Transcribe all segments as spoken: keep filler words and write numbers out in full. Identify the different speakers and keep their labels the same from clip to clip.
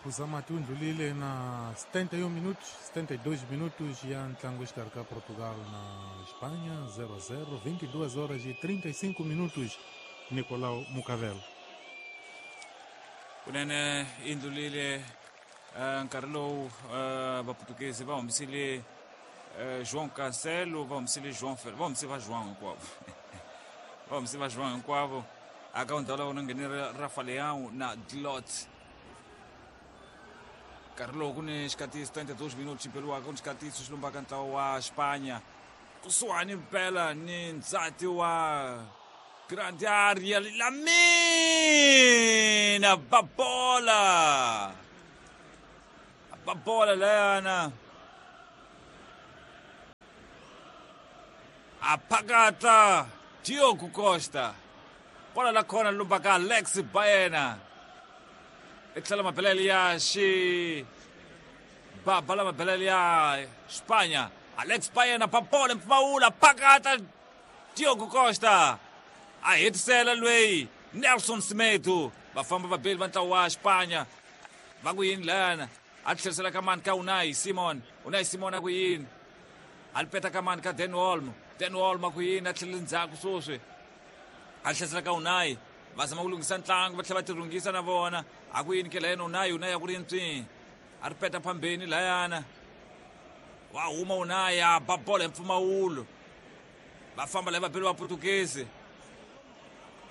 Speaker 1: phuza mati wu ndlulile na setenta e um minutos, setenta e dois minutos ya ntlangu exikarhi ka Portugal na Espanha zero a zero, vinte e duas horas e trinta e cinco minutos. Nicolau Mucavel.
Speaker 2: Kunene i ndlulile nkarhi lowu vaputukezi va humisile João Cancelo, va humisile João Fer, va humisile va João hinkwavo. Va humisile va João hinkwavo. Aka ndhawu la vona nghenile Rafa Leão na Dlot. Nkarhi lowu ku ni xikatisi trinta e dois minutos xi beriwaka, ku ni xikatisi xi lombaka ntlawa wa Espanha kusuhani mpela ni ndzati wa grande área. Lamina babola babola layana aphakata Diogo Costa, bola la khona lombaka Alex Baena etlhela mabelele ya xi baba la mabelele ya Espanha. Alex Baena babola mpfumawula phakata Diogo Costa a hetisela lweyi Nelson Semedo. Va famba vabeli va ntlawa wa Espanha va ku yini lana a tlherisela ka mani ka Unai Simon. Unai Simon a ku yini a li peta ka mani ka Dan Olmo. Dan Olmo a ku yini a tlhelela ndzhaku sweswi a tlherisela ka Unai. Va zama ku lunghisa ntlangu va tlhela va tirhungisa na vona. A ku yini ke layena Unai, Unai a ku ri ntswi a ri peta phambeni layana wa huma Unai a ba bola hi mpfumawulo. Va famba laya vabeli va Portuguese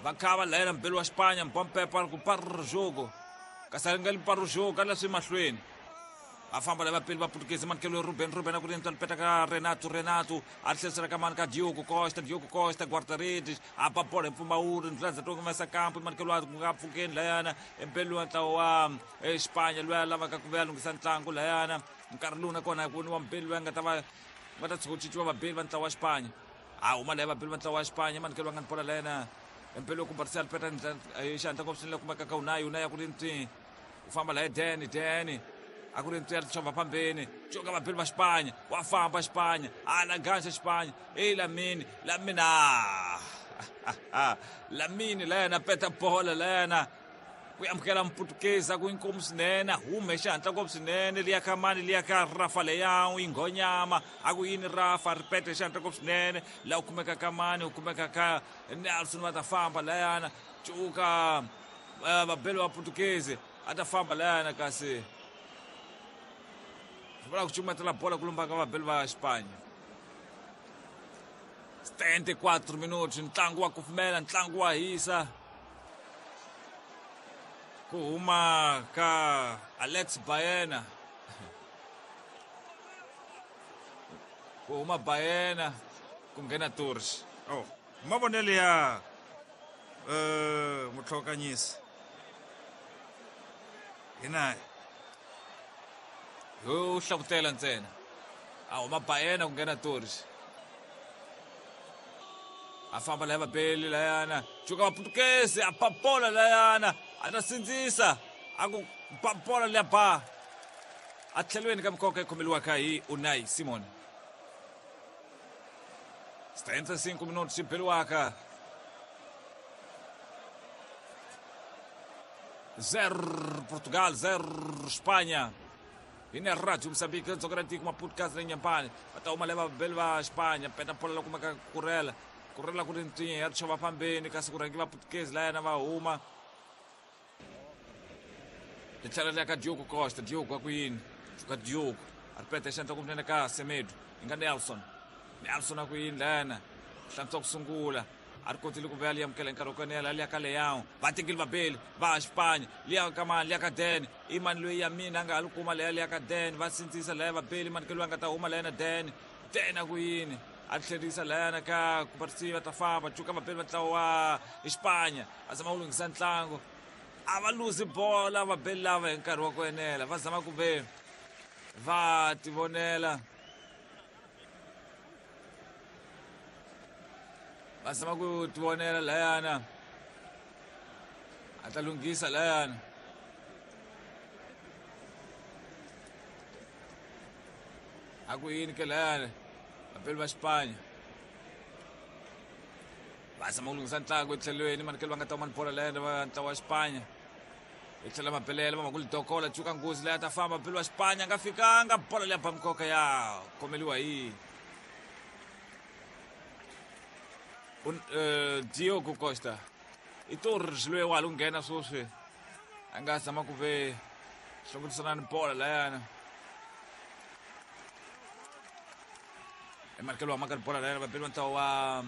Speaker 2: va khava layena mbeli wa Espanha Mbompepa ku parra jogo kasi a nga li parra jogo ka leswi mahlweni. Va famba laya vabeli va Portuguese manikelo Ruben, Ruben a ku ri ntswa peta ka Renato, Renato a tlherisela ka mani ka Diogo Costa, Diogo Costa guarda-redes a ba bola hi mpfumawulo ndlela to humesa kampo manikelo a nga pfukeni layana embeli wa ntlawa wa Espanha loyi a lavaka ku vuya lunghisa ntlangu layana. Nkarhi lowu nakona ku ni wa mbeli loyi a nga ta va va ta tshuka ku cinciwa vabeli va ntlawa wa Espanha. A huma laya vabeli va ntlawa wa Espanha manikelo va nga ni bola layena empelo ku Barcelona peta xihatla ngopfu swinene kumeka ka Unai, Unai a ku ri ntswi u famba laya Dani, Dani a ku ri ntswi ya xova phambeni coka vabeli va Espanha wa famba Espanha a la ganxa Espanha ei Lamine, Lamine a Lamine layena peta bola layena ku amukela Mputukezi ku inkomu swinene hume xihatla ngopfu swinene liya ka mani liya ka Rafa Leão inghonyama a ku yini Rafa ri pete xihatla ngopfu swinene laha u kumeka ka mani u kumeka ka Nelson va ta famba layana cuka vabeli va Portuguese a ta famba layana kasi vula ku cukumetela bola ku lombaka vabeli va Espanha. setenta e quatro minutos ntlangu wa kufumela ntlangu wa hisa ku huma ka Alex Baena ku huma Baena ku nghena Torres.
Speaker 3: Oh mavonelo ya eh mutlhokanyisi hina
Speaker 2: yo hlavutela ntsena a huma Baena ku nghena Torres a famba laya vabeli layana cuka vaputukezi a papola layana a ta sindzisa a ku papola liya ba a tlhelweni ka mikoka yi khomeliwaka hi Unai Simon. setenta e cinco minutos xi beriwaka zero Portugal zero Espanha. Ine Radio Moçambique dzonga ra tiko Maputo kazi na Inhambane va ta huma laya vabeli va Espanha peta bola la kumeka Kurela, Kurela ku ri ntswinya ya xova phambeni kasi ku rhangi vaputukezi layana va huma ri tlhela ri ya ka Diogo Costa. Diogo a ku yini ka Diogo a ri peta xandla kumnene ka Semedo yi nga Nelson, Nelson a ku yini layana hlantswa ku sungula a ri kotile ku vuya liya amukela hi nkarhi wa ku enela liya ka Leão va tekile vabeli va Espanha liya ka mani liya ka Dan i mani loyi ya mina a nga ha li kuma leya liya ka Dan va sindzisa laya vabeli mani ke loyi a nga ta huma layana Dan, Dan a ku yini a tlherisa layana ka Kubarsi va ta famba cuka vabeli va ntlawa wa Espanha va zama ku lunghisa ntlangu a va luzi bola vabeli lava hi nkarhi wa ku enela va zama ku ve va tivonela va zama ku tivonela layana a ta lunghisa layana a ku yini ke layana vabeli va Espanha va zama ku lunghisa ntlangu etlhelweni manikelo va nga ta huma ni bola layana va ntlawa wa Espanha Hi tlhela mabelele va makulu dokola cuka nghozi leyi a ta famba beli wa Xipanya nga fikanga bolo leya ba mikoka ya khomeliwa hi Un, uh, Diogo Costa. I Torres loyi wa ha lo nghena sweswi a nga zama ku ve hlongorisana ni bola layana. Emarkelo wa maka bola layana vabeli va ntlawa wa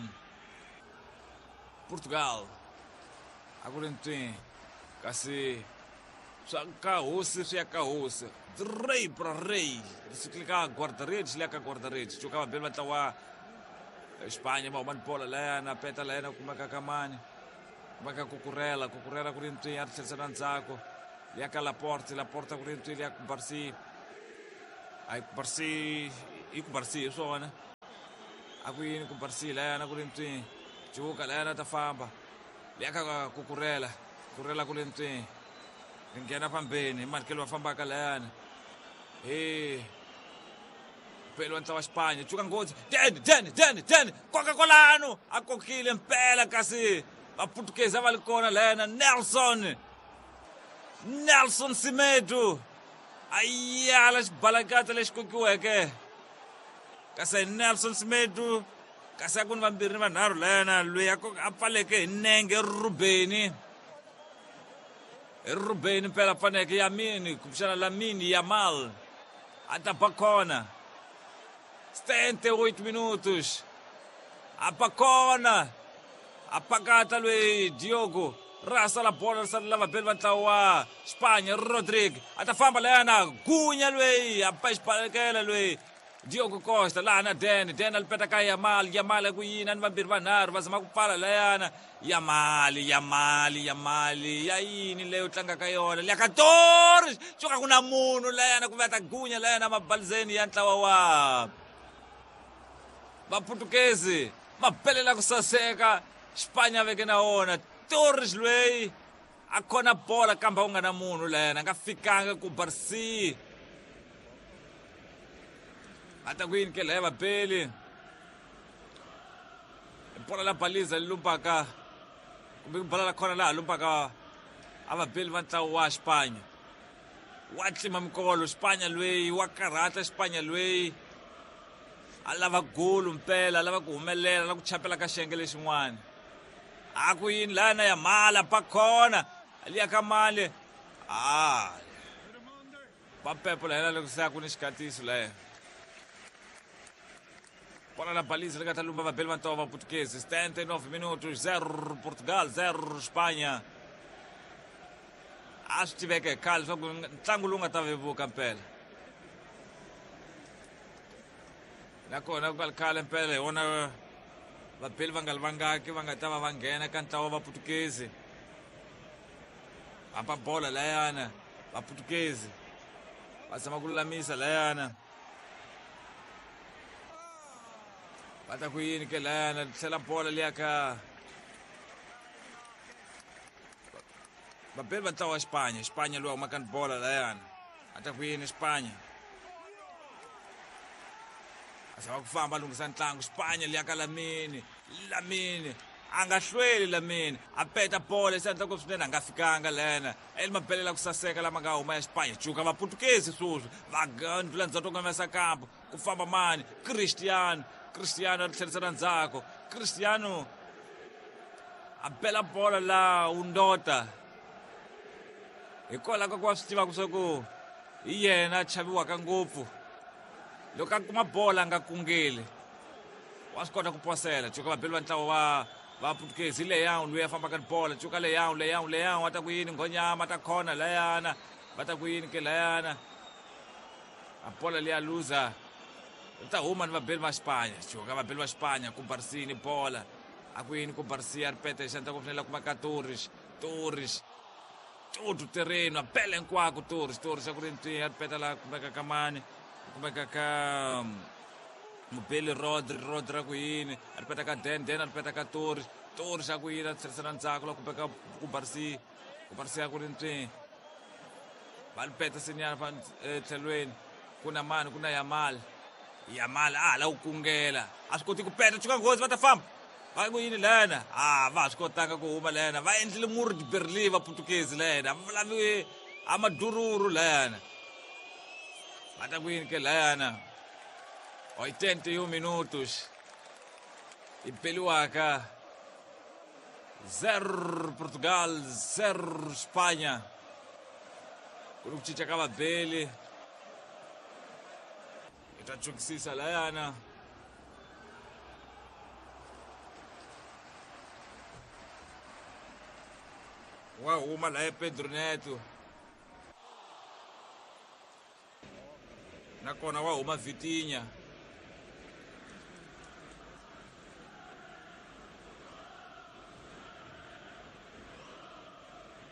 Speaker 2: Portugal. A ku ri ntwi kasi swa ka hosi swi ya ka hosi. Rey pra rey. Ri ka guarda-redes liya ka guarda-redes. Cuka vabeli va ntlawa Espanha va huma ni bola layana peta layana kumeka ka mani. Kumeka Cucurella, Cucurella ku ri ntwi ya ri tlherisela ndzhaku. Liya ka Laporte, Laporte ku ri ntwi liya ku Barsi. Ai Barsi i ku Barsi hi swona. A ku yini ku Barsi layana ku ri ntwi. Cuka layana ta famba. Liya ka Cucurella, Cucurella ku ri ntwi. Ri nghena fambeni hi marikelo va fambaka layana. He pelo ntlawa Xipanya cuka nghozi ten ten ten ten koka kwalano a kokile mpela kasi vaputukezi a va li kona layana Nelson Nelson Semedo a yala xibalakata lexi kokiweke kasi Nelson Semedo kasi a ku ni vambirhi ni vanharhu layana loyi a pfaleke hi nenge Rubeni Rubeni mpela pfaneke Yamini kumbexana Lamine Yamal a ta ba kona setenta e oito minutos. Apakona. Apakata loyi Diogo. Rasa la bola ri sala vabeli va ntlawa wa Spanya Rodrigue. A ta famba layana gunya loyi a pa xibalekela loyi Diogo Costa laha na Den. Den a li peta ka Yamal. Yamal ku yini ni vambirhi vanharhu va zama ku pfala layana. Yamal, Yamal, Yamal ya yini leyo tlanga ka yona. Liya ka Torres. Cuka ku na munhu layana ku va ta gunya layana mabalizeni ya ntlawa wa Vaputukezi mabelela ku saseka Xipanya veke na wona Torres loyi a khona bola kambe u nga na munhu layana a nga fikanga ku Barsi a ta ku yini ke laya vabeli bola la baliza li lumbaka kumbe bola la khona laha lumbaka a vabeli va ntlawa wa Xipanya wa tlima mikolo Xipanya loyi wa karhata Xipanya loyi a lava golo mpela a lava ku humelela na ku chapela ka xiyenge lexin'wana a ku yini lana ya mala pa khona liya ka mali a va pepo la loko se a ku ni xikatiso laya bola la baliza li nga ta lumba vabeli va ntlawa va Portuguese setenta e nove minutos zero Portugal zero Espanha a swi tiveka hi khale leswaku ntlangu lowu nga ta vevuka mpela nakona ku nga ri khale mpela hi wona vabeli va nga li vangaki va nga ta va va nghena ka ntlawa wa Vaputukezi va bola layana Vaputukezi va zama ku lulamisa layana va ta ku yini ke layana tlhela bola liya ka vabeli va ntlawa wa Xipanya Xipanya loyi humaka ni bola layana a ta ku yini Xipanya a zama ku famba a lunghisa ntlangu Xipanya liya ka Lamine Lamine a nga hlweli Lamine a peta bola se endla ku swinene a nga fikanga lena eli mabelela ku saseka lama nga huma ya Xipanya cuka Vaputukezi sweswi va ndlula ndzhaku kongomisa kampo ku famba mani Cristiano Cristiano a ri tlherisela ndzhaku Cristiano a bela bola la undota hikwalaho ka ku va swi tivaka swa ku hi yena a chaviwaka ngopfu loko a kuma bola a nga kungeli wa swi kota ku posela cuka vabeli va ntlawa wa Vaputukezi leyawu loyi a fambaka ni bola cuka leyawu leyawu leyawu a ta ku yini nghonyama ta khona layana va ta ku yini ke layana a bola leya luza ri ta huma ni vabeli va Xipanya cuka vabeli va Xipanya ku Barsini bola a ku yini ku Barsia ri peta hi xandla ku fanele kuma ka Torres Torres todo terreno a bela hinkwako Torres Torres a ku ri ntwi a ri peta laha kumeka ka mani kumeka ka mubeli Rodri Rodri a ku yini a ri peta ka Den Den a ri peta ka Torres Torres a ku yini a tlherisela ndzhaku laha kumeka ku Barsi ku Barsi a ku ri ntwi va ri peta senyana fa tlhelweni ku na mani ku na Yamal Yamal a hala ku kungela a swi koti ku peta cuka nghozi va ta famba Va ku yini lana? Ah, va swi kotanga ku huma lana. Va endlile murhi di Berlin va Portuguese lana. Va lavi amadururu lana. Va ta ku yini ke lana? oitenta e um minutos. E Peluaca zero Portugal, zero Espanha. Ku cinca ka vabeli. I ta chukisisa layana. Wa huma laya Pedro Neto. Nakona wa huma Vitinha.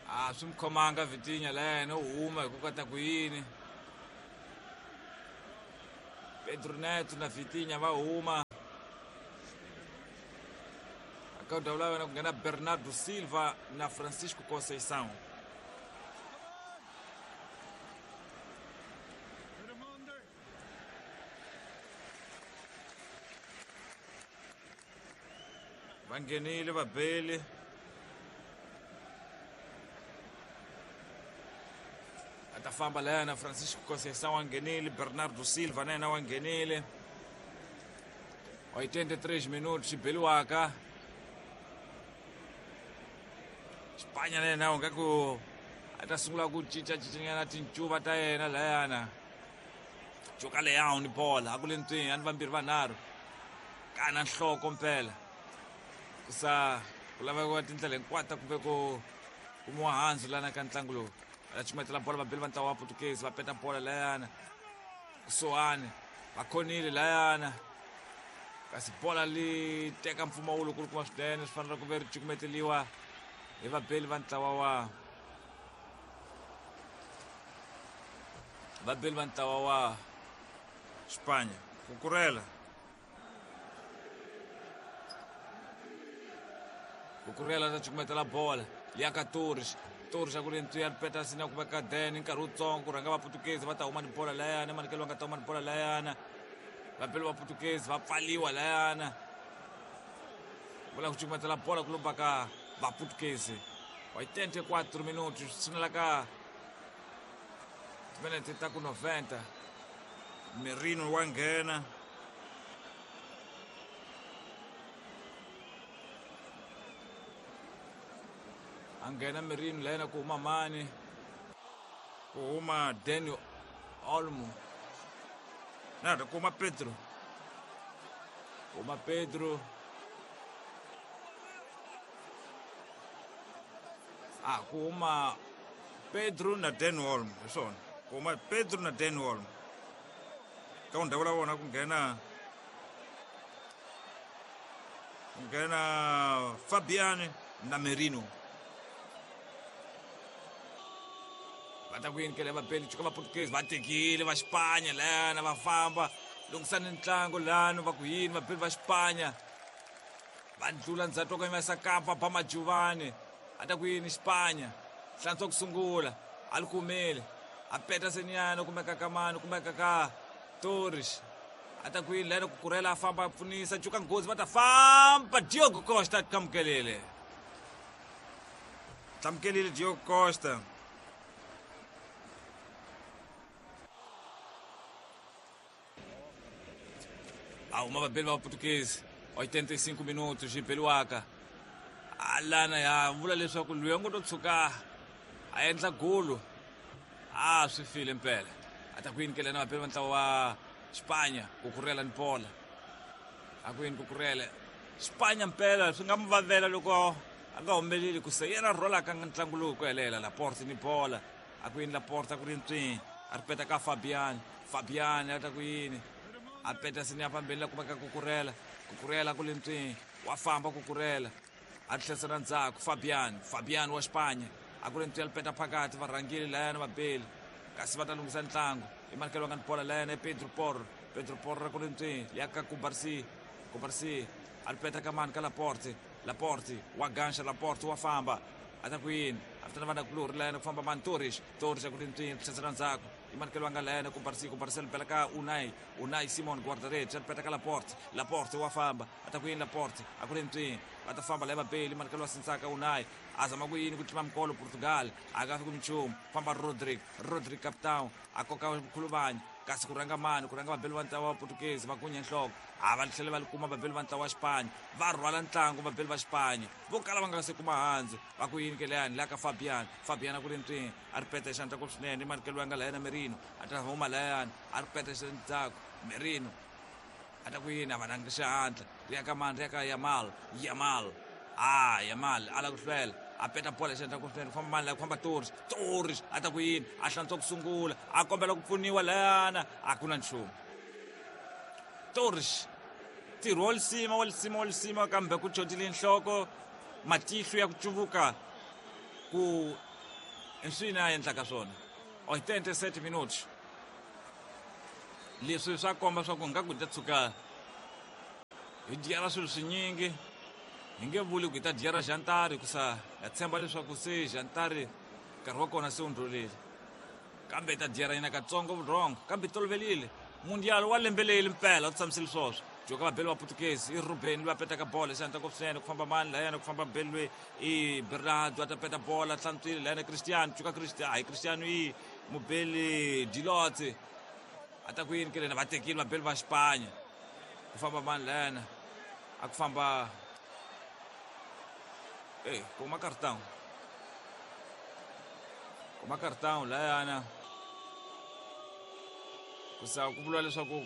Speaker 2: A swi mi khomanga Vitinha layena u huma hi ku kota ku yini. Pedro Neto na Vitinha va huma. Aka ndhawu la wena ku nghena Bernardo Silva na Francisco Conceição.
Speaker 3: Va nghenile vabeli.
Speaker 2: A ta famba lana Francisco Conceição
Speaker 3: wa nghenile, Bernardo Silva na yena wa nghenile.
Speaker 2: oitenta e três minutos xibeliwaka. Espanha na yena nga ku a ta sungula ku cinca cincanyana tincuva ta yena layana. Cuka leyawu ni bola a ku le ntwini a ni vambirhi vanharhu. Kana nhloko mpela. Ku sa ku laveka tindlela hinkwato kumbe ku kumiwa handzu lana ka ntlangu lowu. Va cukumetela bola vabeli va ntlawa wa Portuguese va peta bola layana. Kusuhani va khonile layana. Kasi bola li teka mpfumawulo ku ri kuma swinene swi fanele ku ve ri cukumeteliwa hi vabeli va ntlawa wa vabeli va ntlawa wa
Speaker 3: Espanha. Kukurela.
Speaker 2: Kukurela ta cukumetela bola liya ka Torres. Torres a ku ri ntwiya ri peta sina ku veka den nkarhi wutsongo ku rhanga va Portuguese va ta huma ni bola layana manikelo va nga ta huma ni bola layana. Vabeli va Portuguese va pfaliwa layana. Vula ku cukumetela bola ku lomba ka va Portuguese. oitenta e quatro minutos tshinela ka timinete ta ku noventa.
Speaker 3: Merino wa nghena.
Speaker 2: A nghena Merino layena ku huma mani?
Speaker 3: Ku huma
Speaker 2: Daniel Olmo.
Speaker 3: Na ku huma Pedro.
Speaker 2: Huma Pedro. Ah, ku huma
Speaker 3: Pedro na Daniel Olmo, hi swona. Ku huma Pedro na Daniel Olmo. Ka ndhawu la vona ku nghena ku nghena Fabian na Merino.
Speaker 2: Va ta ku yini kele vabeli cuka va Portuguese va tekile va Espanha lana va famba lunghisani ntlangu lano va ku yini vabeli va Espanha va ndlula ndzhaku ka yimesa kampa ba Majuvani. A ta ku yini Espanha hlantswa ku sungula a li kumile a peta senyana kumeka ka mani kumeka ka Torres. A ta ku yini lana ku kurela a famba a pfunisa cuka nghozi va ta famba Diogo Costa tlamukelile.
Speaker 3: Tlamukelile Diogo Costa.
Speaker 2: A huma vabeli va Portuguese oitenta e cinco minutos xibeliwaka. Alana ya vula leswaku loyi a ngo to tshuka a endla golo a swi file mpela. A ta ku yini kele na vabeli va ntlawa wa Espanha ku kurela ni bola. A ku yini ku kurela Espanha mpela swi nga mi vavela loko a nga humeleli ku se yena rholaka ntlangu lowu ku helela. Laporte ni bola. A ku yini Laporte a ku ri ntswini a ri peta ka Fabian. Fabian a ta ku yini a peta sini ya fambeni la kumeka Kukurela. Kukurela ku le ntswini wa famba Kukurela a tlhesela ndzhaku Fabian. Fabian wa Espanha a ku ri ntswi ya peta phakathi va rhangile layana vabeli kasi va ta lunghisa ntlangu. I manikelo nga ni bola layana i Pedro Porro. Pedro Porro ku ri ntswini ya ka Kubarsi. Kubarsi a ri peta ka mani ka Laporte. Laporte wa ganxa Laporte wa famba A ta ku yini a vitana vana kulori layena ku famba mani Torres Torres a ku ri ntswini tlhesela ndzhaku i manikelo nga layena ku Barsi ku Barcel bela ka Unai Unai Simon guarda-redes a ri peta ka Laporte Laporte wa famba a ta ku yini Laporte a ku ri ntswini va ta famba laya vabeli manikelo wa sintsaka Unai a zama ku yini ku tlima mikolo Portugal a nga fiki minchumu famba Rodrigo Rodrigo capitão a koka khuluvanyi kasi ku rhanga mani ku rhanga vabeli va ntlawa wa Portuguese va gunya nhloko a va tlhela va li kuma vabeli va ntlawa wa Xipanya va rhwala ntlangu vabeli va Xipanya vo kala va nga se kuma handzu va ku yini ke leyani laha ka Fabian Fabian a ku ri ntswini a ri peta xandla ku swinene i manikelo ya nga layena Merino a ta huma layani a ri peta xandzhaku Merino a ta ku yini a va nanga xihatla ri ya ka mani ri ya ka Yamal Yamal ah Yamal a la ku hlwela a peta bola xandla ku swinene ku famba mani laha ku famba Torres Torres a ta ku yini a hlantswa ku sungula a kombela ku pfuniwa layana a ku na nchumu Torres ntirho wa lisima wa lisima wa lisima kambe ku chotile nhloko matihlo ya ku cuvuka ku nswini a endlaka swona oitenta e sete minutos leswi swa komba swa ku nga ku ta tshuka hi dyela swilo swinyingi hi nge vuli ku hi ta dyera jantari hikusa ha tshemba leswaku se jantari nkarhi wa kona se wu ndlulile kambe hi ta dyera yena katsongo vurhongo kambe hi tolovelile mundial wa lembe leyi mpela u tshamisile swoswo joka vabeli va Portuguese i Ruben loyi a petaka bola xandla ku swinene ku famba mani layena ku famba beli loyi i Bernardo a ta peta bola hlantswile layena Cristiano cuka Cristiano hayi Cristiano i mubeli Dilotse a ta ku yini ke lena va tekile vabeli va Xipanya ku famba mani layena a ku famba eh kuma cartão kuma cartão layana kusa ku vuriwa leswaku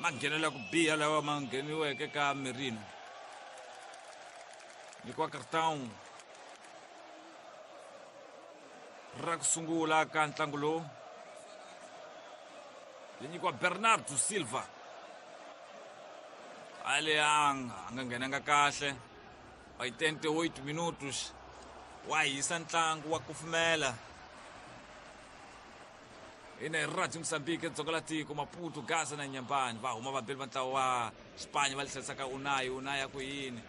Speaker 2: manghenelo ya ku biha lawa ma ngheniweke ka Merino nyikiwa cartão ra ku sungula ka ntlangu lowu li nyikiwa Bernardo Silva a le a nga nghenanga kahle oitenta e oito minutos wa hisa ntlangu wa kufumela ina Radio Mozambique dzonga la tiko Maputo Gaza na Nyambani va huma vabeli va ntlawa wa Xipanya va lihlasaka Unai Unai ya ku yini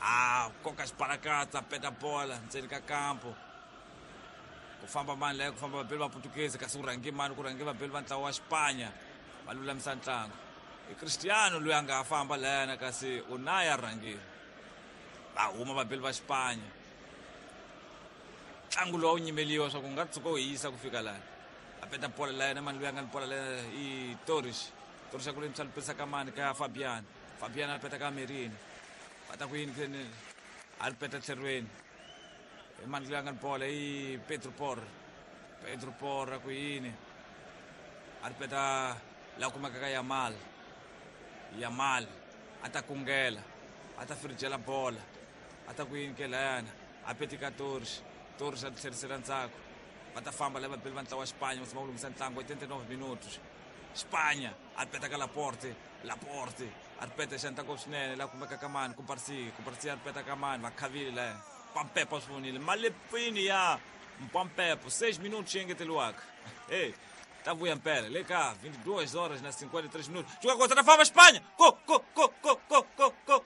Speaker 2: a koka xibalakatsa peta bola ndzeni ka kampo ku famba mani laya ku famba vabeli va Portuguese kasi ku rhange mani ku rhange vabeli va ntlawa wa Xipanya va lulamisa ntlangu i Cristiano loyi a nga ha famba layana kasi Unai a rhangile va huma vabeli va Xipanya ntlangu lowu a wu nyimeliwa swa ku nga tshuka wu hisa ku fika lani a peta bola layena mani loyi a nga ni bola layena i Torres Torres a ku lemisa lipesa ka mani ka Fabian Fabian a peta ka Merino va ta ku yini kene a ri peta tlherweni i mani loyi a nga ni bola i Pedro Porro Pedro Porro a ku yini a ri peta laha kumeka ka Yamal Yamal a ta kungela a ta firijela bola a ta ku yini ke layana a peti ka Torres Torres a tlherisela ndzhaku va ta famba lava vabeli va ntlawa wa Xipanya va tshama ku lunghisa ntlangu oitenta e nove minutos Xipanya a ri peta ka Laporte Laporte a ri peta xandla ngopfu swinene laha kumeka ka mani ku Barsi ku Barsi a ri peta ka mani va khavile laya Pampepo swi vonile malepfini ya Mpampepo seis minutos xi engeteriwaka hey ta vuya mpela le ka vinte e duas horas na cinquenta e três minutos. Joga contra a fama Espanha. Go, go, go, go, go, go,